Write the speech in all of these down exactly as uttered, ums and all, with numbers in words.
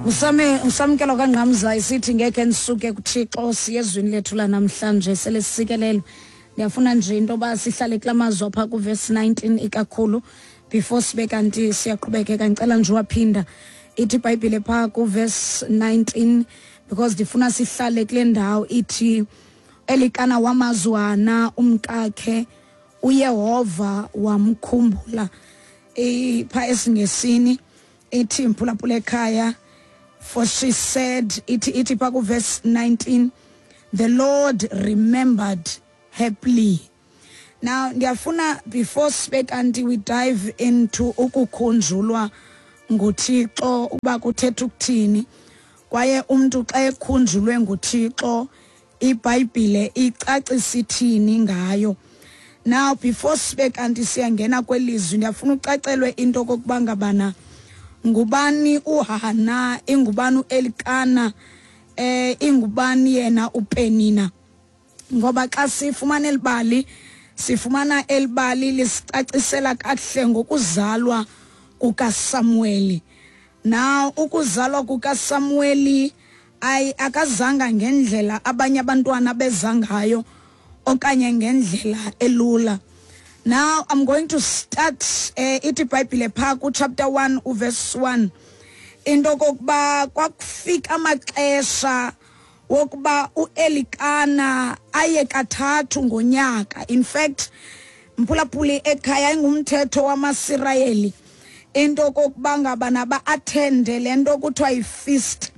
Usame usamkelo kaNgqamza isithi ngeke nisuke kuThixo siye ezwini lethu lanamhlanje sele sisikelelwe. Ndiyafuna nje into yoba sihlale kula mazwi apha kuverse nineteen ikakhulu before sibe kanti siyaqhubekeka. Ngicela nje waphinda ithi iBhayibhile phaa kuverse nineteen because ndifuna sihlale kule ndawo ithi Elikana wamazwana umkakhe uYehova wamkhumbula. Phaa esiNgesini ithi mphulaphula ekhaya, for she said, ithi ithi phaa kuverse nineteen, the Lord remembered her plea. Now ndiyafuna before sibe kanti we dive into ukukhunjulwa nguThixo uba kuthetha ukuthini, kwaye umntu xa ekhunjulwe nguThixo iBhayibhile icacisa ithini ngayo. Now before sibe kanti siyangena kwelizwi, ndiyafuna ucacelwe into okokuba ngabana ngubani uHana, ingubani uElikana, eh ingubani yena uPenina. Ngoba xa sifumana elibali, sifumana elibali lisicacisela kakuhle ngokuzalwa kukaSamueli. Now ukuzalwa kukaSamueli ay akazanga ngendlela abanye abantwana beza ngayo okanye ngendlela elula. Now I'm going to start eh, ithi iBhayibhile phaa ku chapter one uverse one into kokuba kwakufika amaxesha wokuba uElikana aye kathathu ngonyaka. In fact, mphulaphuli ekhaya ingumthetho wamaSirayeli into kokuba ngaba naba attende le nto kuthiwa yi-feast.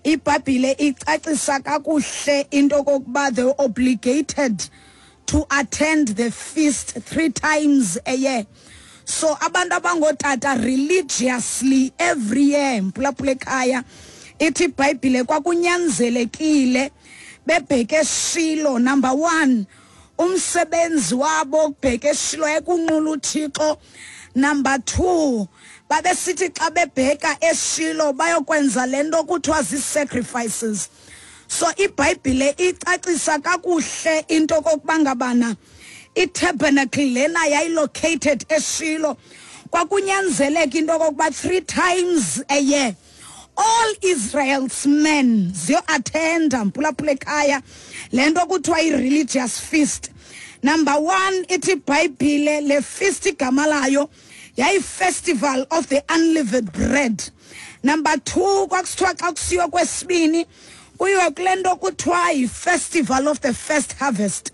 iBhayibhile icacisa kakuhle into kokuba they were obligated to attend the feast three times a year. So abantu abangotata religiously every year, mphulaphula ekhaya, ithi iBhayibhile kwakunyanzelekile bebheke eShilo. Number one, umsebenzi wabo ukubheka eShilo ekunqula uThixo. Number two, babesithi xa bebheka eShilo bayokwenza le nto kuthiwa zii-sacrifices. So iBhayibhile icacisa kakuhle into okokuba ngabana i-tabernacle lena yayilocated eShilo, kwakunyanzeleka into okokuba three times a year all Israel's men ziyo-attenda mphulaphula ekhaya le nto kuthiwa i-religious feast. Number one, ithi iBhayibhile le feast igama layo yayi-festival of the unleavened bread. Number two, kwakusithiwa xa kusiwa kwesibini kuyiwe kule nto kuthiwa yi-festival of the first harvest.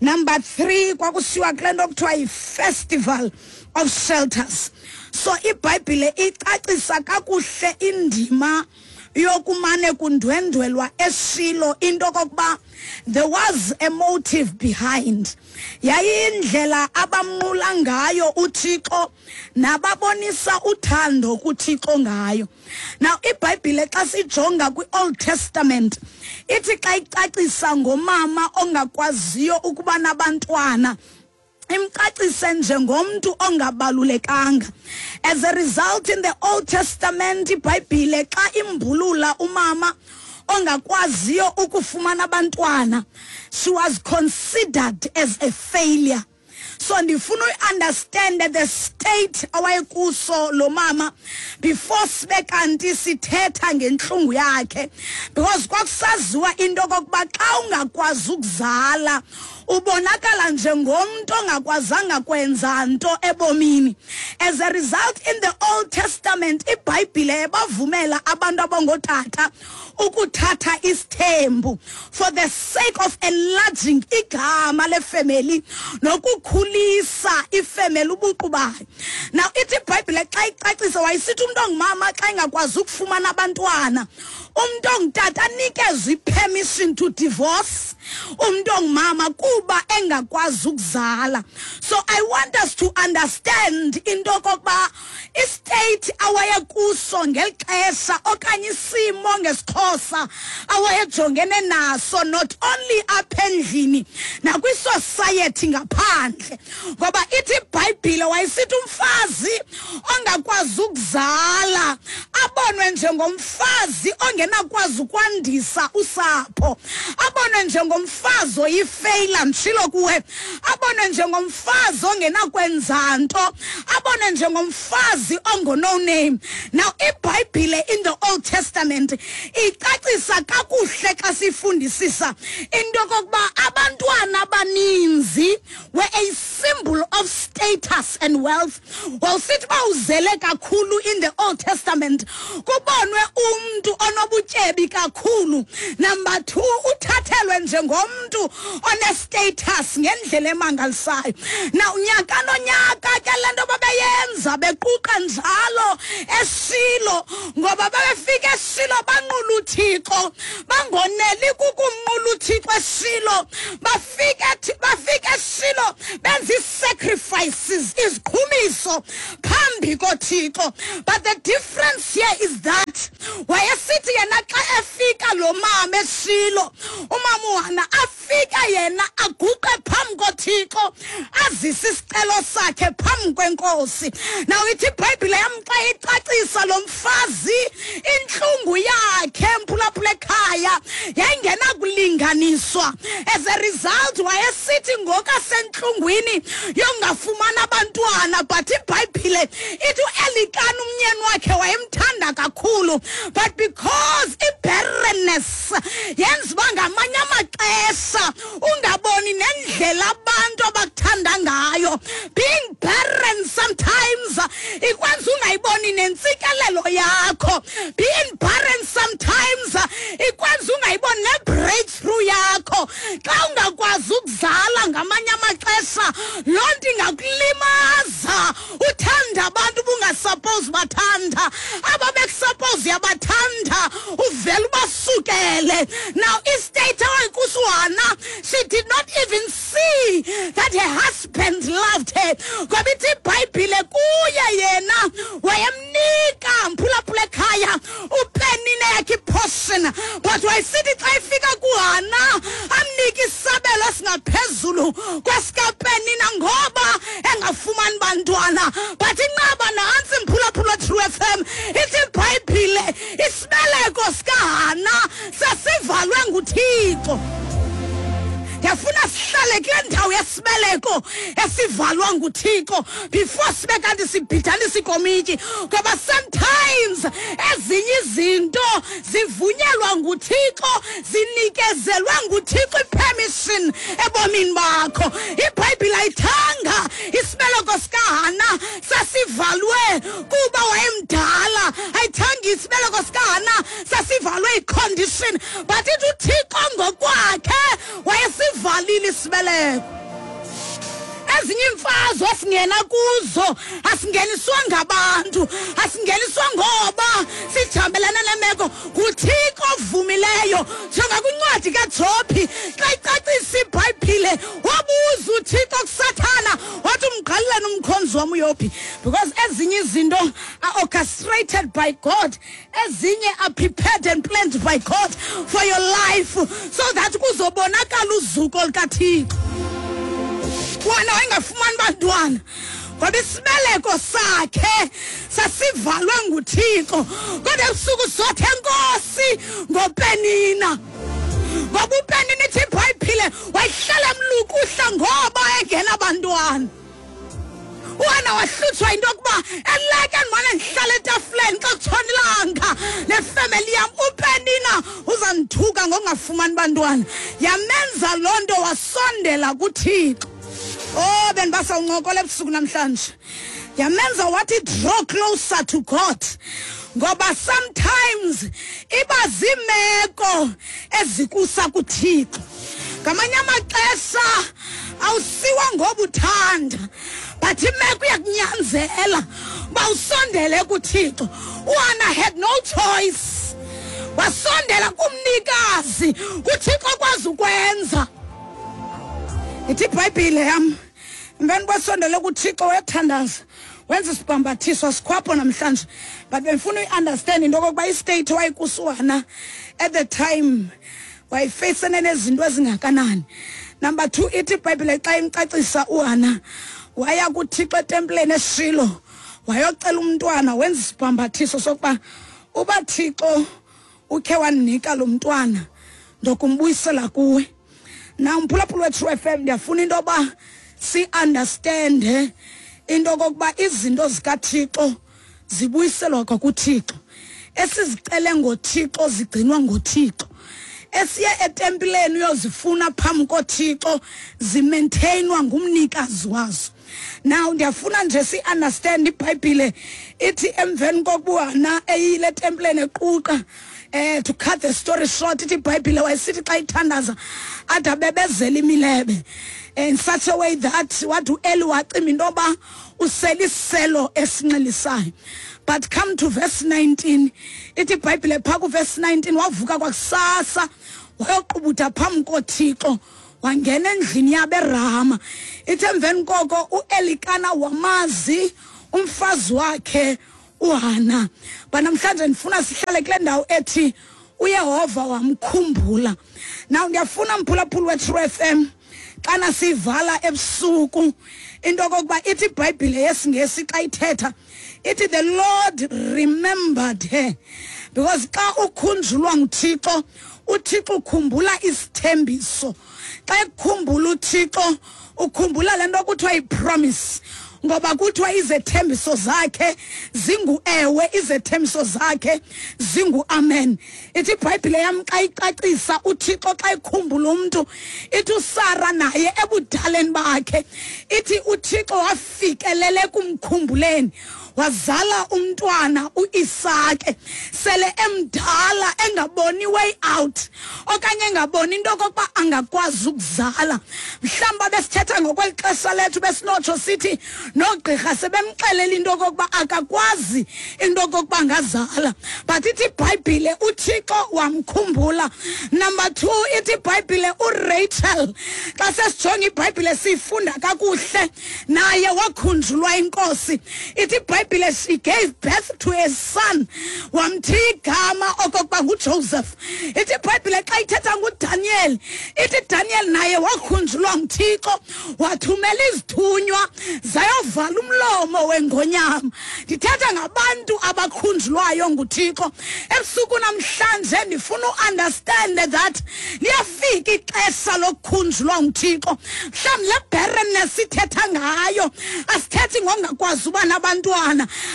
Number three, kwakusiwa kule nto kuthiwa yi-festival of shelters. So iBhayibhile icacisa kakuhle indima yokumane kundwendwelwa eShilo, into kokuba there was a motive behind. Yayindlela abamnqula ngayo uThixo nababonisa uthando kuThixo ngayo. Now iBhayibhile xa sijonga kwi-Old Testament ithi xa icacisa ngomama ongakwaziyo ukuba nabantwana, imcacise njengomntu ongabalulekanga. As a result, in the Old Testament iBhayibhile xa imbulula umama ongakwaziyo ukufumana abantwana, she was considered as a failure. So ndifuna uyi-understand the state awayekuso lo mama before sibe kanti sithetha ngentlungu yakhe, because kwakusaziwa into okokuba xa ungakwazi ukuzala ubonakala njengomntu ongakwazanga kwenza nto ebomini. As a result, in the Old Testament iBhayibhile ebavumela abantu abangotata ukuthatha isithembu for the sake of enlarging igama lefamily nokukhulisa ifamily ubuqu bayo. Now ithi iBhayibhile xa icacisa wayisithi umuntu ongumama xa engakwazi ukufumana abantwana, umuntu ongutata anikezwe i-permission to divorce umuntu ongumama kuba engakwazi ukuzala. So I want us to understand into okokuba istate awayekuso ngeli xesha okanye isimo ngesiXhosa awayejongene naso, not only apha endlini nakwisociety ngaphandle. Ngoba ithi iBhayibhile wayesithi umfazi ongakwazi ukuzala abonwe njengomfazi ongenakwazi ukwandisa usapho, abonwe njengomfazi oyifeyila, mtshilo kuwe, abonwe njengomfazi ongenakwenza nto, abonwe njengomfazi ongo no name. Now iBhayibhile in the Old Old Testament icacisa kakuhle xa sifundisisa into yokokuba abantwana abaninzi were a symbol of status and wealth. Wawusithi uba uzele kakhulu in the Old Testament, kubonwe umntu onobutyebi kakhulu. Number two, uthathelwe njengomntu one-status ngendlela emangalisayo. Now unyaka nonyaka ke le nto babeyenza bequqa njalo eShilo, ngoba babefika eShilo banqula uThixo, bangoneli kukumnqula uThixo eShilo, bafike bafike eShilo benza ii-sacrifices, iziqhumiso phambi koThixo. But the difference here is that wayesithi yena xa efika lo mama eShilo, umama uHana afika yena aguqe phambi koThixo, azise isicelo sakhe phambi kwenkosi. Now ithi iBhayibhile yam xa icacisa lo mfazi intlungu yakhe mphulaphula ekhaya yayingenakulinganiswa. As a result wayesithi ngokasentlungwini yongafumana abantwana, but iBhayibhile ithi uElikana umnyeni wakhe wayemthanda kakhulu, but because i-barrenness yenza uba ngamanye amaxesha ungaboni nendlela abantu abakuthanda ngayo. Being barren sometimes ikwenza ungayiboni nentsikelelo yakho. Being barren sometimes ikwenza ungayiboni ne-breakthrough yakho. Xa ungakwazi ukuzala ngamanye amaxesha loo nto ingakulimaza. Uthanda abantu ubungasuppose bathanda, aba bekusuppose uyabathanda uvele ubasukele. Now istate awayikuso uHana, she did not even see that her husband loved her, ngoba ithi iBhayibhile kuye yena wayemnika mphulaphula ekhaya uPenina yakhe iportion, but wayesithi xa ifika kuHana amnike isabelo esingaphezulu kwesikaPenina ngoba engafumani bantwana. But inqaba nantsi mphulaphula True F M, ithi iBhayibhile isibeleko sikaHana sasivalwe nguThixo. Ndiyafuna sihlale kule ndawo yesibeleko esivalwa nguThixo before sibe kanti sibhidanisa ikomityi, ngoba sometimes ezinye izinto zivunyelwa nguThixo, zinikezelwe nguThixo ipermission ebomini bakho. IBhayibhile ayithanga isibeleko sikaHana sasivalwe kuba wayemdala, ayithanga isibeleko sikaHana sasivalwe icondition, but ithi uThixo ngokwakhe wayesivalile isibeleko. Ezinye iimfazwe esingena kuzo asingeniswa ngabantu, asingeniswa ngoba sijambelana nemeko, nguThixo ovumileyo. Njengakwincwadi kaJobhi xa icacisa iBhayibhile wabuza uThixo kuSathana wathi umqaleleni umkhonzi wam uYobhi, because ezinye izinto are orchestrated by God, ezinye are prepared and planned by God for your life so that kuzobonakala uzuko lukaThixo. Wena wayengafumani bantwana ngoba isibeleko sakhe sasivalwe nguThixo, kodwa ebusuku sothe enkosi ngoPenina, ngoba uPenina ithi iBhayibhile wayihlala emlukuhla ngoba engenabantwana. UHana wahlutshwa into yokuba eleke ndimane ndihlala etafuleni xa kutshona ilanga nefemeli yam, uPenina uzandithuka ngokungafumani bantwana. Yamenza loo nto wasondela kuThixo. Oh, bendibasawuncokola ebusuku namhlanje. Yamenza wathi draw closer to God, ngoba sometimes iba ziimeko ezikusa kuThixo. Ngamanye amaxesha awusiwa ngoba uthanda, but imeko iyakunyanzela uba usondele kuThixo. uHana had no choice, wasondela kumnikazi, kuThixo okwazi ukwenza. Ithi iBhayibhile yam emveni kwesondele kuThixo wayethandaza, wenza isibhambathiso sikhwapho namhlanje, but bendifuna uyi-understand into okokuba istate wayekuso uHana at the time wayefeyisene nezinto ezingakanani. Number two, ithi iBhayibhile xa imcacisa uHana waya kuThixo etempileni eShilo wayocela umntwana, wenza isibhambathiso sokuba uba Thixo ukhe wandinika lo mntwana ndokumbuyisela kuwe. Now mphulaphula we-True F M, ndiyafuna into yoba si-understande into okokuba izinto zikaThixo zibuyiselwa kwakuThixo. Esizicele ngoThixo zigcinwa ngoThixo. Esiye etempileni uyozifuna phambi koThixo zimaintainwa ngumnikazi wazo. Now ndiyafuna nje si understand iBhayibhile ithi emveni kokuba eyile etempileni equqa, eh to cut the story short, ithi iBhayibhile wayesithi xa ithandaza ade abebezela imilebe in such a way that wathi uEli wacima into yoba usele isiselo esinxilisayo. But come to verse nineteen, ithi iBhayibhile phaa kuverse nineteen, wavuka kwakusasa wayoqubuda phambi koThixo, wangena endlini yabo eRama. Ithi emveni koko uElikana wamazi umfazi wakhe uHana. But namhlanje ndifuna sihlale kule ndawo ethi uYehova wamkhumbula. Now ndiyafuna mphulaphuli we-True F M, xana sivala ebusuku into okokuba ithi iBhayibhile yesiNgesi xa ithetha ithi the Lord remembered her. Because xa ukhunjulwa nguThixo, uThixo ukhumbula isithembiso. Xa ekukhumbula uThixo ukhumbula le nto kuthiwa yi-promise, ngoba kuthiwa izethembiso zakhe zingu-ewe, izethembiso zakhe zingu-amen. Ithi iBhayibhile yam xa icacisa uThixo xa ekhumbula umntu, ithi uSara naye ebudaleni bakhe, ithi uThixo wafikelele kumkhumbuleni, wazala umntwana uIsake sele emdala engaboni way out okanye engaboni into okokuba angakwazi ukuzala. Mhlawumbi besithetha ngokweli xesha lethu besinotsho sithi noogqirha sebemxelela into okokuba akakwazi into okokuba angazala, but ithi iBhayibhile uThixo wamkhumbula. Number two, ithi iBhayibhile uRachel, xa sesijonga iBhayibhile siyifunda kakuhle, naye wakhunjulwa inkosi. Ithi iBhayibhile she gave birth to a son, wamthi igama okokuba nguJoseph. Ithi iBhayibhile xa ithetha nguDaniel, ithi Daniel naye wakhunjulwa nguThixo, wathumela izithunywa zayovala umlomo wengonyama. Ndithetha ngabantu abakhunjulwayo nguThixo. Ebusuku namhlanje ndifuna uunderstand that liyafika ixesha lokukhunjulwa nguThixo. Mhlawumbi le barrenness sithetha ngayo asithethi ngongakwazi uba nabantwana.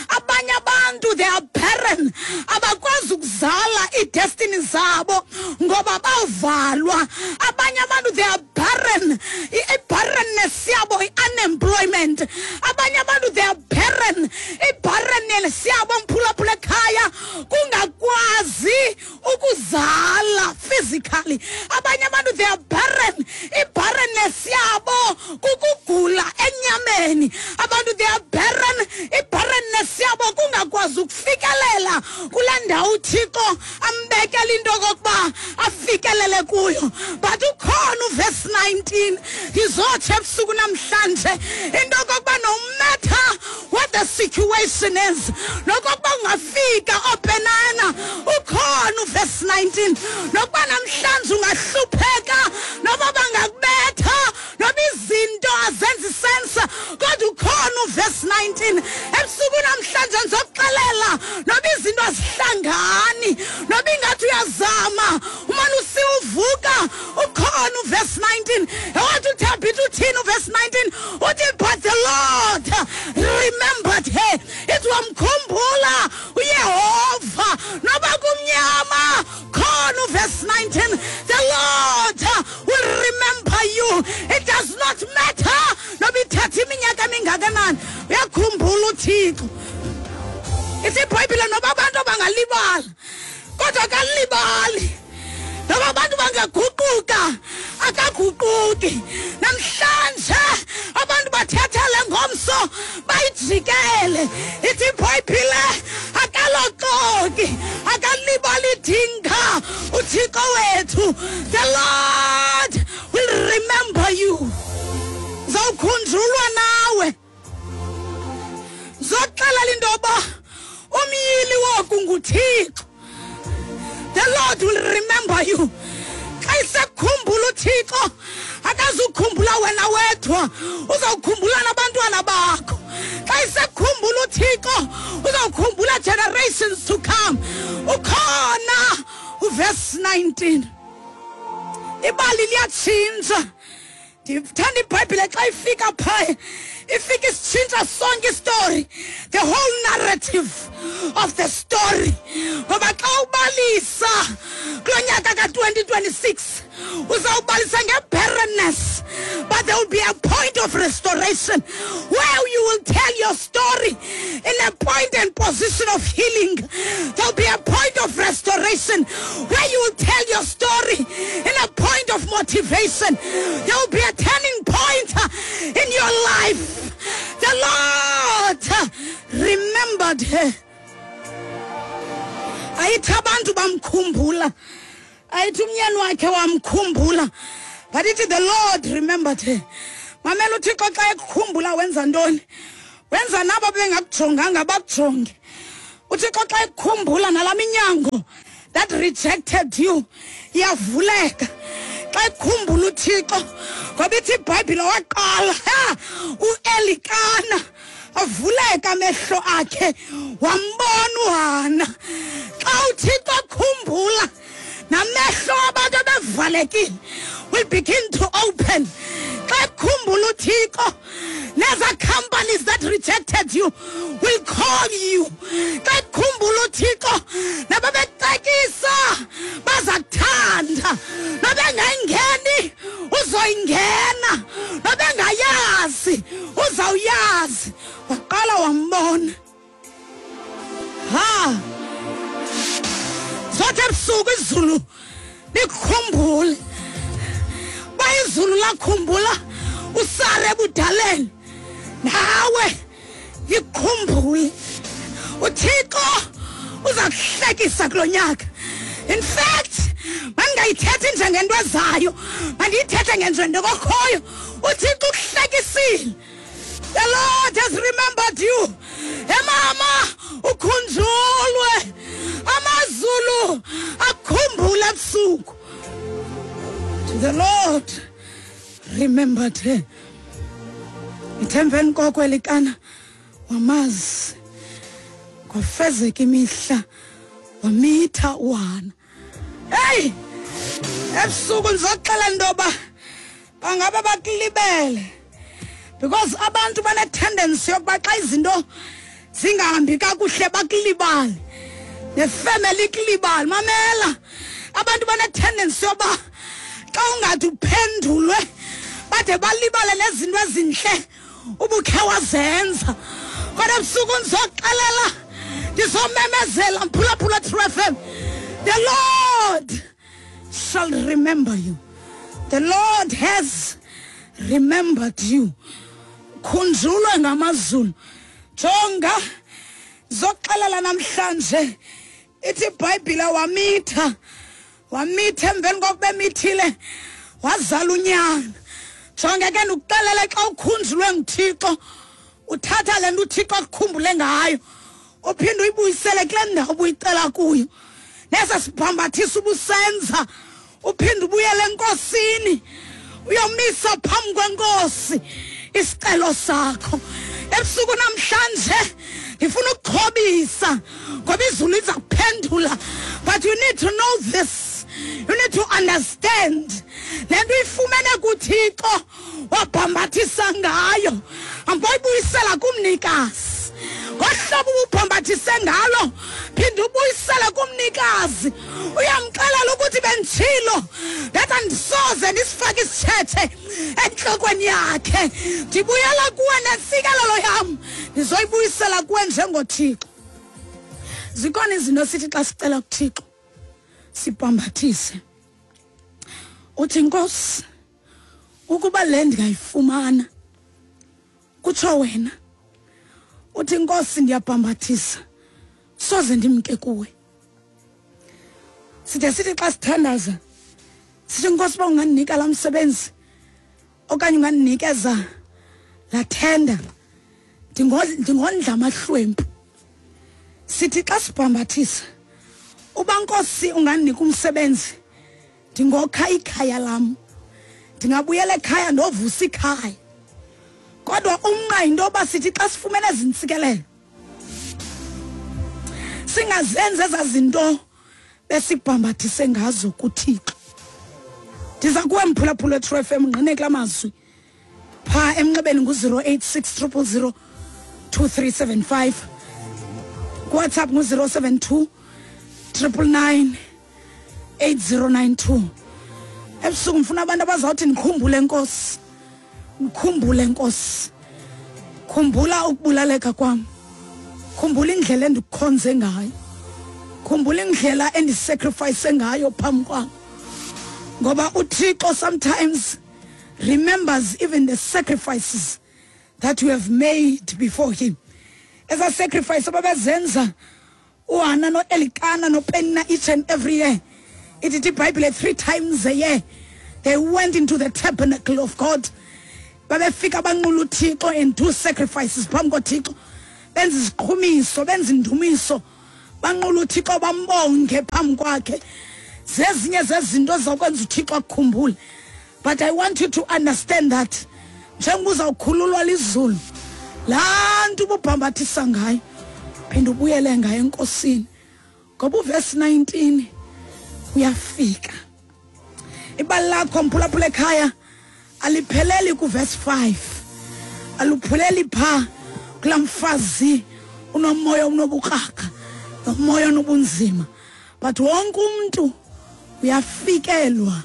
Abanye abantu they are barren, abakwazi ukuzala iidestiny zabo ngoba bavalwa. Abanye abantu they are barren, i-barrenness yabo i-unemployment. Abanye abantu they are barren, i-barrenness yabo mphulaphula ekhaya kungakwazi ukuzala physically. Abanye abantu they are barren, i-barrenness yabo kukugula enyameni. Abantu they are barren, i-barrenness yabo kungakwazi ukufikelela kule ndawo uThixo ambekela into okokuba afikelele kuyo. But ukhona uverse nineteen, ndizotsho ebusuku namhlanje into okokuba no matter what the situation is, nokokuba ungafika openana, ukhona uverse nineteen. Nokuba namhlanje ungahlupheka, noba bangakubetha, noba izinto azenzi sense, kodwa ukhona uverse nineteen. Ebusuku namhlanje ndizokuxelela noba izinto azihlangani, noba ingathi uyazama umane usiwuvuka, ukhona uverse nineteen. Ewathi uThabitha uthini uverse nineteen? Uthi but the Lord remembered her. Ithi wamkhumbula uYehova noba kumnyama, khona uverse nineteen. The Lord will remember you. It does not matter noba ithatha iminyaka emingakanani, uyakhumbula uThixo. Ithi iBhayibhile noba abantu bangalibala, kodwa akalibali. Noba abantu bangaguquka, akaguquki. Namhlanje abantu bathethele ngomso bayijikele. Ithi iBhayibhile akaloxoki, akalibali idinga uThixo wethu. The Lord will remember you. Zawukhunjulwa nawe. Zoxelela into yoba umyili woku nguThixo. The Lord will remember you. Xa isekukhumbula uThixo, akazukhumbula wena wedwa, uzawukhumbula nabantwana bakho. Xa isekukhumbula uThixo, uzawukhumbula generations to come. Ukhona uverse nineteen. Ibali liyatshintsha. Ndithanda iBhayibhile xa ifika phaya, ifika isitshintsha sonke istory, the whole narrative of the story. Ngoba Uzawubalisa kulo nyaka ka-twenty twenty-six. Uzawubalisa nge-barrenness, but there will be a point of restoration where you will tell your story in a point and position of healing. There will be a point of restoration where you will tell your story in a point of motivation. There will be a turning point in your life. The Lord remembered her. Ayithi abantu bamkhumbula, ayithi umyeni wakhe wamkhumbula, but ithi the Lord remembered her. Mamela, uThixo xa ekukhumbula wenza ntoni? Wenza nabo bengakujonganga bakujonge. UThixo xa ekukhumbula, nalaa minyango that rejected you iyavuleka xa ekukhumbula uThixo. Ngoba ithi iBhayibhile waqala uElikana avuleka amehlo akhe, wambona uHana. Xa uThixo akhumbula, namehlo abantu abevalekile will begin to open. Xa ekhumbula uThixo, neza companies that rejected you will call you. Xa ekhumbula uThixo, nababecekisa baza kuthanda. Nobengayingeni uzoyingena, nobengayazi uzawuyazi. Waqala wambona. Ha, zothi ebusuku izulu likukhumbule. Ba izulu lakhumbula uSara ebudaleni, nawe likukhumbule. UThixo uza kuhlekisa kulo nyaka. In fact, mandingayithethi njengento ezayo, mandiyithethe ngenjento kokhoyo. UThixo ukuhlekisile. The Lord has remembered you. Emama, ukhunjulwe. Amazulu akukhumbule ebusuku. To the Lord remembered her. Ithe emveni koko Elikana wamazi, kwafezeka imihla, wamitha uHana. Hey, ebusuku ndizoxela intoba bangabe bakulibele, because abantu bane-tendency yokuba xa izinto zingahambi kakuhle bakulibale, nefemeli ikulibale. Mamela, abantu bane-tendency yoba xa ungathi uphendulwe bade balibale nezinto ezintle ubukhe wazenza. Kodwa ebusuku ndizoxelela, ndizomemezela, mphulaphula True F M, the Lord shall remember you. The Lord has remembered you. Khunjulwe ngamazulu. Jonga, zoxelela namhlanje, ithi iBhayibhile wamitha, wamitha. Emveni kokuba emithile wazala unyana. Jonge ke, ndikuxelele, xa ukhunjulwe nguThixo, uthatha le nto uThixo akukhumbule ngayo, uphinde uyibuyisele kule ndawo ubuyicela kuyo. Nesa sibhambathisa ubusenza, uphinde ubuyele enkosini, uyomisa phambi kwenkosi isicelo sakho. Ebusuku namhlanje ndifuna ukuxhobisa, ngoba izulu liza kuphendula. But you need to know this, you need to understand le nto uyifumene kuThixo wabhambathisa ngayo, amboyibuyisela kumnikazi. Ngohlobo ububhambathise ngalo, phinde ubuyisele kumnikazi. Uyamxelela ukuthi benditshilo, ndathi andisoze ndisifake isitshethe entlokweni yakhe. Ndibuyela kuwe nentsikelelo yam, ndizoyibuyisela kuwe njengoThixo. Zikhona izinto sithi xa sicela kuThixo sibhambathise, uthi Nkosi, ukuba le ndingayifumana, kutsho wena. Uthi Nkosi, ndiyabhambathisa, soze ndimke kuwe. Side sithi xa sithandaza sithi, Nkosi, uba ungandinika laa msebenzi okanye ungandinikeza laa thenda, ndingondla amahlwempu. Sithi xa sibhambathisa, uba Nkosi ungandinika umsebenzi, ndingokha ikhaya lam, ndingabuyela ekhaya ndovusa ikhaya. Kodwa umnqa yinto yoba sithi xa sifumene ezi ntsikelelo singazenzi ezaa zinto besibhambathise ngazo kuThixo. Ndiza kuwe mphulaphula weTrue F M, ngqine kula mazwi. Phaa emnxebeni ngu-zero eight six triple zero two three seven five, kuWhatsApp ngu-zero seven two Triple nine eight zero nine two. Ebusuku ngifuna abantu abazawuthi nikhumbule Nkosi, nikhumbule Nkosi, khumbula ukubulaleka kwam, khumbula indlela endikukhonze ngayo, khumbula indlela endisacrifice ngayo phambi kwam. Ngoba uThixo sometimes remembers even the sacrifices that you have made before him. Eza sacrifice ababezenza uHana noElikana noPenina each and every year. Ithi iBhayibhile three times a year they went into the tabernacle of God. Babefika banqula uThixo and do sacrifices phambi koThixo, benza iziqhumiso, benza indumiso, banqula uThixo, bambonge phambi kwakhe. Zezinye zezinto zokwenza uThixo akukhumbule. But I want you to understand that njengoba uzawukhululwa lizulu, laa nto ububhambathisa ngayo phinda ubuyele ngayo enkosini, ngoba uvesi nineteen uyafika. Ibali lakho mphulaphula ekhaya alipheleli kuvesi five, alupheleli phaa kulaa mfazi unomoya onobukrakra nomoya onobunzima, but wonke umntu uyafikelwa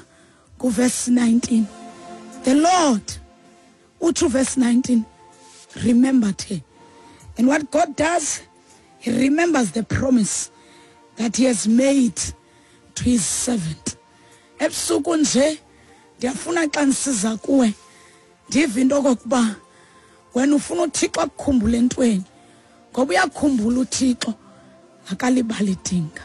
kuvesi nineteen. The Lord uthi verse nineteen, remembered her. And what God does, he remembers the promise that he has made to his servant. Ebusuku nje ndiyafuna xa ndisiza kuwe ndive into okokuba wena ufuna uThixo akukhumbule entweni, ngoba uyakhumbula uThixo, akalibali idinga.